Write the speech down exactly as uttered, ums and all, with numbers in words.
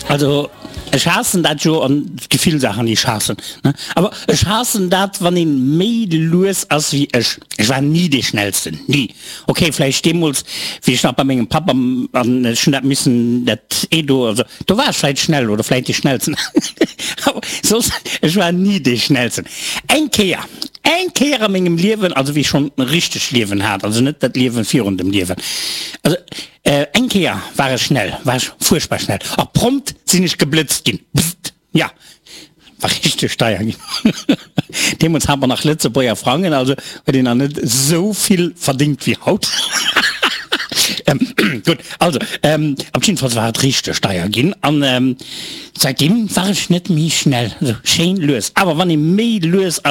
Also ech haassen dat jo an et gi vill Saachen déi ech haassen ne, awer ech haassen dat wann een méi lues ass wéi ech. Ech war ni dee schnellsten, ni. Ok vläicht deemools wéi ech nach bei mengem Papp am an ech hunn dat missen dat Edo also do war ech vläicht schnell oder vläicht dee schnellsten awer soss ech war ni dee schnellsten. Eng Kéier, eng Kéier a mengem Liewen, also wéi ech schonn e richtegt Liewen hat, also net dat Liewen virun dem Liewen, also Eng Kéier war ech schnell, war ech fuerchtbar schnell, a prompt sinn ech geblëtzt ginn. Bzzzt! Ja, war richteg deier ginn. Deemools hat mer nach Lëtzebuerger Frangen, also huet een nach net esou vill verdéngt wéi haut. Gutt, also op jiddefalls war et richteg deier ginn an säitdeem war ech net méi schnell, esou schéin lues. Awer wann ee méi lues ass,